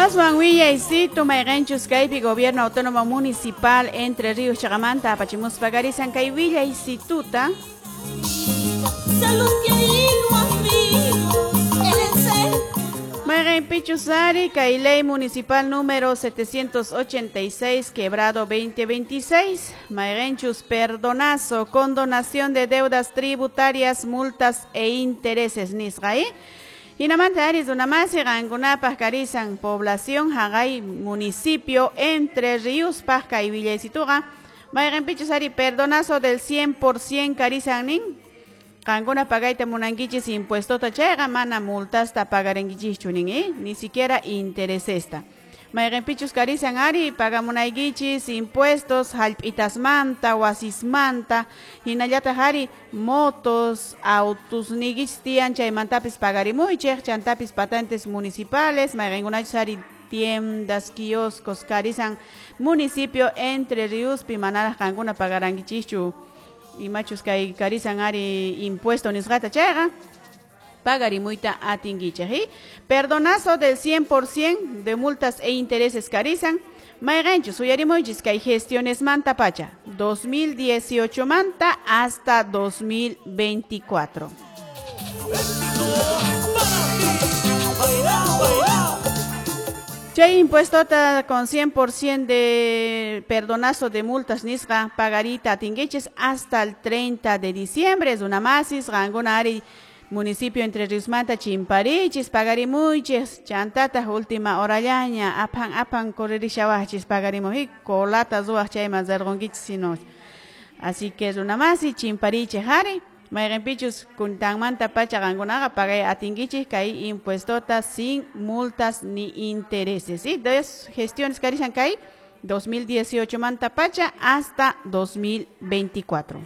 Aswan willaysitu mayqinchus kaypi Gobierno Autónomo Municipal Entre Ríos chaqamanta apachimuspa karisan kay willaysituta. Mayqinpichus ari kay ley municipal número 786 quebrado 2026 mayqinchus perdonazo, condonación de deudas tributarias, multas e intereses nisqa, ¿eh? Hinamanta ari runamasi qankunapaq karisan población haqay municipio Entre Ríospaq kay willaysituqa mayqinpichus ari perdonazo del 100% karisan nin. Qankuna pagayta munankichis impuestota chayqa mana multasta pagarinkichishchu nin, ¿eh? Ni siquiera interesesta. Mayqinpichus karisan ari pagamunaykichis impuestos hallp'itasmanta, wasismanta, hinallataq ari motos, autos niykichis tiyan chaymantapis pagarimuychik, chantapis patentes municipales, mayqinkunachus ari tiendas, kioscos karisan municipio Entre Ríospi manaraq qankuna pagarankichishchu imachus kay karisan ari impuesto nisqata chayqa pagarimuyta atinkichik, ¿eh? Perdonazo del 100% de multas e intereses karisan mayqinchus uyarimuychis kay gestiones manta pacha 2018 manta hasta 2024. Chay impuestota con 100% de perdonazo de multas nisqa pagarita atinkichis hasta el 30 de diciembre. Es una masis, qankuna ari municipio Entre Ríosmanta chimparichis, pagarimuychis, chantata última horallaña, apan apan correrishawachis pagarimuy, colata ruwaq chayman rirqunkichis sino. Así que es una masi, chimparichis ari. Mayqinpichus kuntanmanta pacha qankunaqa pagay atinkichis kay impuestota sin multas ni intereses, ¿sí? Dos gestiones karisan kay 2018 manta pacha hasta 2024.